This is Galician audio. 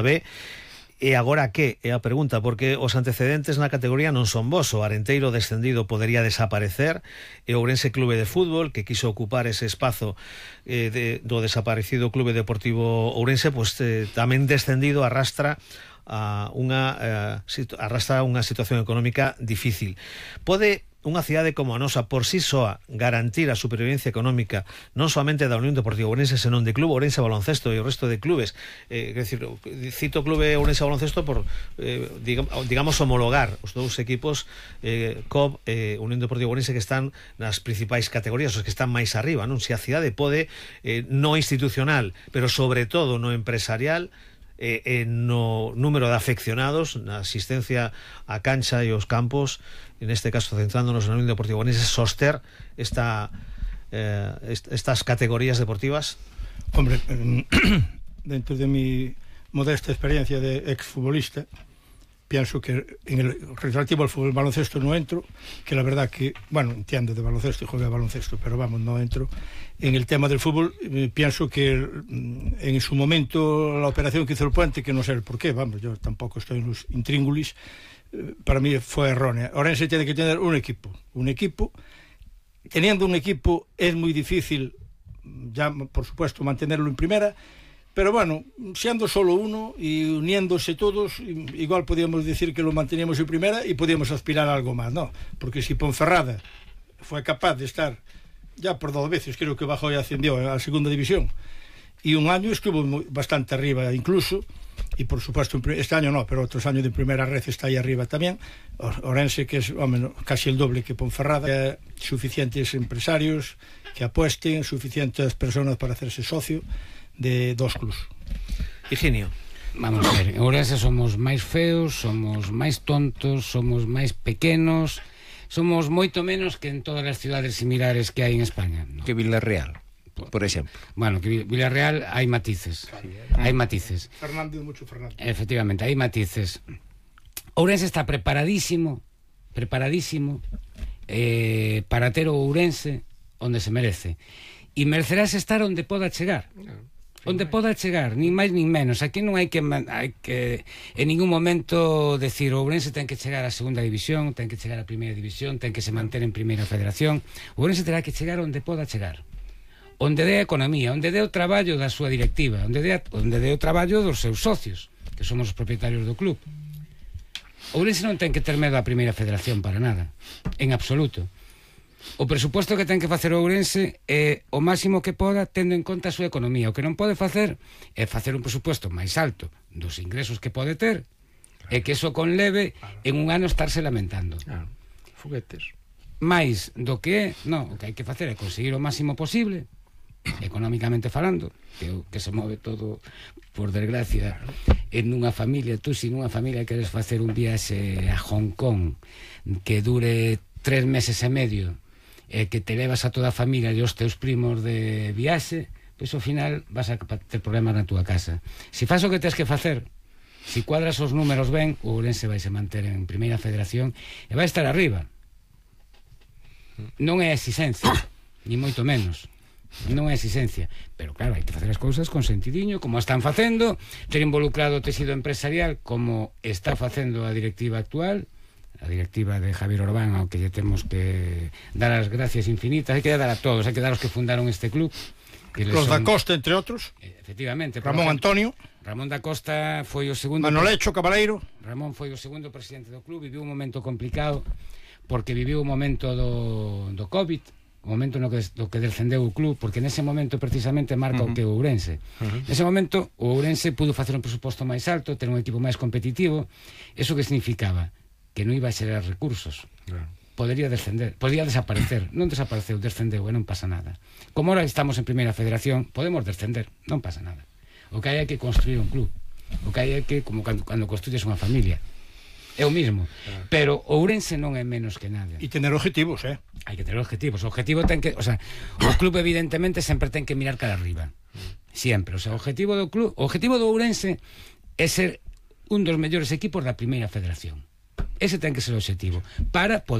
B. E agora que? É a pregunta, porque os antecedentes na categoría non son bons. O Arenteiro descendido podería desaparecer, e o Ourense Clube de Fútbol, que quiso ocupar ese espazo do desaparecido Clube Deportivo Ourense, pues tamén descendido arrastra unha situación económica difícil. Pode unha cidade como a nosa por si soa garantir a supervivencia económica non somente da Unión Deportiva Ourense, senón de Club Ourense Baloncesto e o resto de clubes? É dicir, cito Clube Ourense Baloncesto por digamos homologar os dous equipos, COB e Unión Deportiva Ourense, que están nas principais categorías, os que están máis arriba, non? Se a cidade pode, no institucional, pero sobre todo no empresarial, no número de afeccionados, na asistencia á cancha e aos campos, en este caso centrándonos na Unión Deportiva Ourense, soster estas categorías deportivas? Hombre, dentro de mi modesta experiencia de exfutbolista, pienso que en el relativo al fútbol baloncesto no entro, que la verdad que, bueno, entiendo de baloncesto y juego de baloncesto, pero vamos, no entro. En el tema del fútbol, pienso que en su momento la operación que hizo el Puente, que no sé el por qué, vamos, yo tampoco estoy en los intríngulis, para mí fue errónea. Ourense tiene que tener un equipo. Teniendo un equipo es muy difícil, ya por supuesto, mantenerlo en primera, pero bueno, siendo solo uno y uniéndose todos, igual podíamos decir que lo manteníamos en primera y podíamos aspirar a algo más, ¿no? Porque si Ponferrada fue capaz de estar ya por 2 veces, creo que bajó y ascendió a la segunda división, y un año estuvo bastante arriba incluso, y por supuesto este año no, pero otros años de primera red está ahí arriba también. Ourense, que es casi el doble que Ponferrada, suficientes empresarios que apuesten, suficientes personas para hacerse socio de 2 clubs. Higinio. Vamos a ver, en Ourense somos máis feos, somos máis tontos, somos máis pequenos, somos moito menos que en todas as cidades similares que hai en España, ¿no? Que Villarreal, por exemplo. Bueno, que Villarreal hai matices. Hai matices. Fernández, mucho Fernández. Efectivamente, hai matices. Ourense está preparadísimo para ter o Ourense onde se merece. E merecerás estar onde poda chegar. Onde poda chegar, nin máis nin menos. Aquí non hai que en ningún momento decir o Ourense ten que chegar á segunda división, ten que chegar á primeira división, ten que se manter en primeira federación. O Ourense terá que chegar onde poda chegar, onde dé a economía, onde dé o traballo da súa directiva, onde dé o traballo dos seus socios, que somos os propietarios do club. O Ourense non ten que ter medo á primeira federación para nada, en absoluto. O presuposto que ten que facer o Ourense é o máximo que poda, tendo en conta a súa economía. O que non pode facer é facer un presuposto máis alto dos ingresos que pode ter, e que eso conleve en un ano estarse lamentando. Foguetes. Mais do que é, non, o que hai que facer é conseguir o máximo posible, económicamente falando, que se move todo, por desgracia, en unha familia. Tú, se nunha familia queres facer un viaxe a Hong Kong que dure 3 meses e medio, que te levas a toda a familia e os teus primos de viaxe, pois ao final vas a ter problemas na túa casa. Se faz o que tens que facer, se cuadras os números ben, o Ourense vai se manter en primeira federación e vai estar arriba. Non é exigencia, ni moito menos. Non é exigencia, pero claro, hai que facer as cousas con sentidiño, como están facendo, ter involucrado o tecido empresarial como está facendo a directiva actual, a directiva de Javier Orbán, ao que lle temos que dar as gracias infinitas. Hai que dar a todos, hai que dar aos que fundaron este club, que los da Costa, entre outros. Efectivamente, Ramón Antonio, Ramón da Costa foi o segundo, Manolecho Cabaleiro. Ramón foi o segundo presidente do club. Viviu un momento complicado porque viviu o momento do Covid, o momento no que descendeu o club, porque nese momento precisamente marca o que o Ourense. Nese momento o Ourense pudo facer un presuposto máis alto, ter un equipo máis competitivo. Eso que significaba que non iba a xerar recursos, podría descender, podría desaparecer. Non desapareceu, descendeu e non pasa nada. Como ahora estamos en primeira federación, podemos descender, non pasa nada. O que hai é que construir un club, o que hai é que, como cando construyes unha familia, é o mismo. Pero Ourense non é menos que nada. E tener objetivos, hai que tener objetivos. O objetivo ten que, o sea, o club evidentemente sempre ten que mirar cara arriba, sempre. O sea, o objetivo do club, o objetivo do Ourense é ser un dos mellores equipos da primeira federación. Ese ten que ser o objetivo para poder